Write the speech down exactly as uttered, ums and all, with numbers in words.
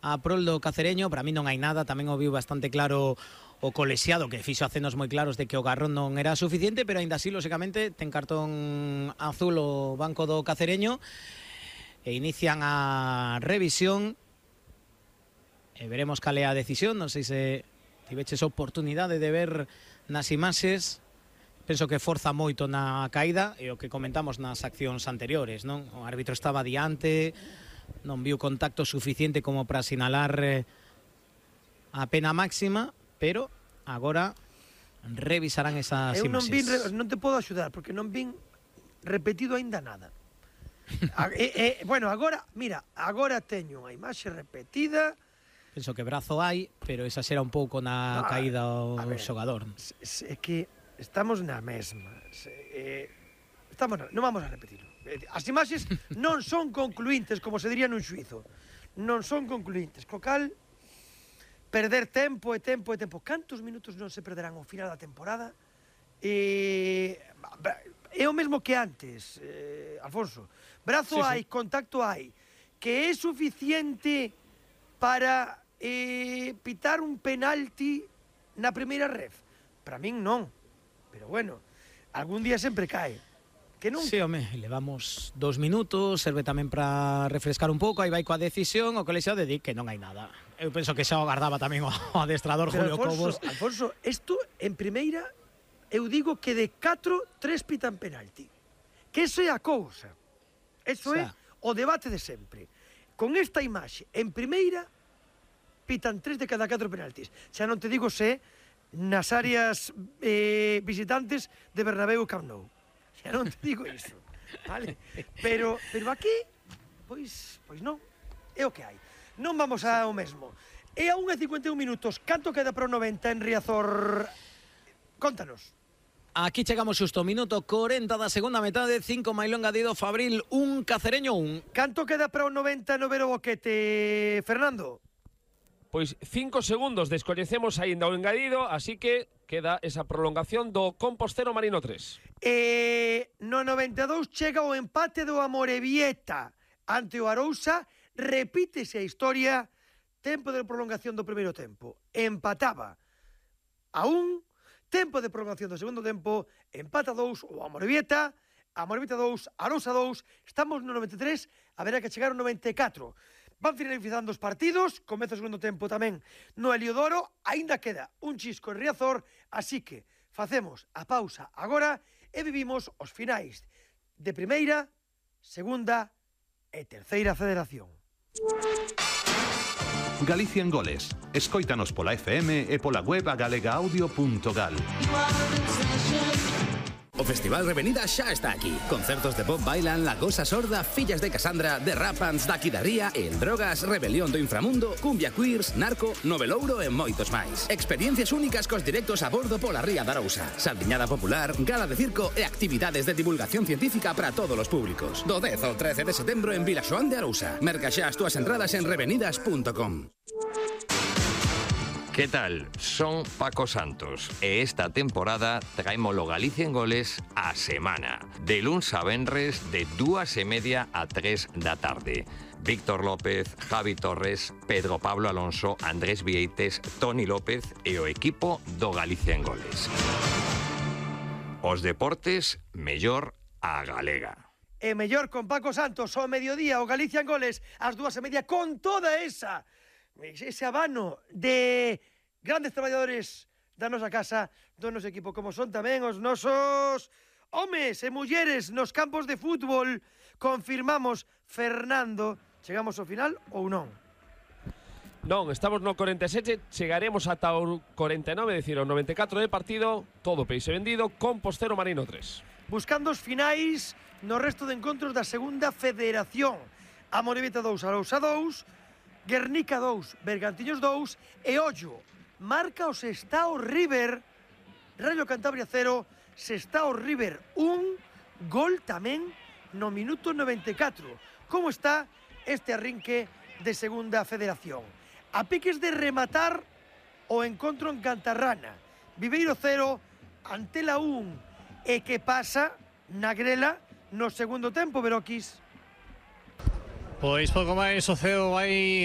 a prol do Cacereño. Para mí non hai nada, tamén o viu bastante claro o colexiado, que fixo acenos moi claros de que o Garrón non era suficiente, pero aínda así, lógicamente, ten cartón azul o banco do Cacereño e inician a revisión e veremos cal é a decisión. Non sei se tiveches oportunidade de ver nas imaxes. Penso que forza moito na caída e o que comentamos nas accións anteriores, non? O árbitro estaba diante, non viu contacto suficiente como para sinalar eh, a pena máxima, pero agora revisarán esas Eu non, vin, imaxes. non te podo axudar porque non vin repetido aínda nada. a, e, e, bueno, agora, mira, agora teño unha imaxe repetida. Penso que brazo hai, pero exagera un pouco na no, caída o ver, xogador. É que estamos na mesma. Eh, estamos na, non vamos a repetirlo. As imaxes non son concluíntes, como se diría nun xuizo. Non son concluíntes, co cal perder tempo e tempo e tempo. Cantos minutos non se perderán ao final da temporada? E é o mesmo que antes, eh, Alfonso. Brazo sí, hai, sí. Contacto hai. Que é suficiente para eh, pitar un penalti na primeira ref? Para min non. Pero bueno, algún día sempre cae. Que non... Sí, home, levamos dos minutos, serve tamén para refrescar un pouco, aí vai coa decisión, o colexiado de di que non hai nada. Eu penso que xa o agardaba tamén o adestrador Pero Julio Alfonso, Cobos. Alfonso, isto en primeira, eu digo que de catro, tres pitan penalti. Que eso é a cousa. Eso o sea, é o debate de sempre. Con esta imaxe, en primeira, pitan tres de cada catro penaltis. Xa non te digo se nas áreas eh, visitantes de Bernabéu e Camp Nou. Xa non te digo iso, vale? Pero, pero aquí, pois, pois non, é o que hai. Non vamos ao mesmo. É a unha e cincuenta e un minutos, canto queda para o noventa en Riazor? Contanos. Aquí chegamos xusto, minuto corenta da segunda metade, cinco Mailón Gadido, Fabril un, Cacereño un. Canto queda para o noventa no Vero Boquete, Fernando? Pois cinco segundos, descoñecemos aínda o engadido, así que queda esa prolongación do Compostero Marino tres. E no noventa e dous chega o empate do Amorebieta ante o Arousa, repítese a historia, tempo de prolongación do primeiro tempo, empataba a un, tempo de prolongación do segundo tempo, empata dous o Amorebieta, Amorebieta dous, Arousa dous, estamos no noventa e tres, haberá que chegar ao noventa e catro. Van finalizando os partidos, comeza o segundo tempo tamén no Heliodoro, aínda queda un chisco en Riazor, así que facemos a pausa agora e vivimos os finais de primeira, segunda e terceira federación. Galicia en Goles. Escóitanos pola F M e pola web a galega audio punto gal. O Festival Revenida xa está aquí. Concertos de Bob Bailan, La Gosa Sorda, Fillas de Casandra, The Rapans, Daqui da Ría, El Drogas, Rebelión do Inframundo, Cumbia Queers, Narco, Novelouro e moitos máis. Experiencias únicas cos directos a bordo pola Ría da Arousa. Saldiñada popular, gala de circo e actividades de divulgación científica para todos os públicos. Do dez ao trece de setembro en Vilaxoán de Arousa. Merca xa as túas entradas en revenidas punto com. ¿Qué tal? Son Paco Santos e esta temporada traémolo Galicia en Goles a semana. De luns a venres de dúas e media a tres da tarde. Víctor López, Javi Torres, Pedro Pablo Alonso, Andrés Vieites, Toni López e o equipo do Galicia en Goles. Os deportes, mellor a galega. E mellor con Paco Santos, ao mediodía, o Galicia en Goles, ás dúas e media, con toda esa... ese abano de grandes traballadores da nosa casa, do noso equipo, como son tamén os nosos homes e mulleres nos campos de fútbol. Confirmamos, Fernando, chegamos ao final ou non? Non, estamos no corenta e sete, chegaremos ata o corenta e nove, é dicir, o noventa e catro de partido, todo peixe vendido, Compostero Marino tres. Buscando os finais no resto de encontros da segunda federación. Amorebieta dous, Arousa dous, Guernica dous, Bergantiños dous e ollo, marca o Sestao River, Rayo Cantabria cero, Sestao River un, gol tamén no minuto noventa e catro. Como está este arrinque de segunda federación? A piques de rematar o encontro en Cantarrana, Viveiro cero, Antela un, e que pasa na grela no segundo tempo, Veroquis? Pois pouco máis, o Ceo vai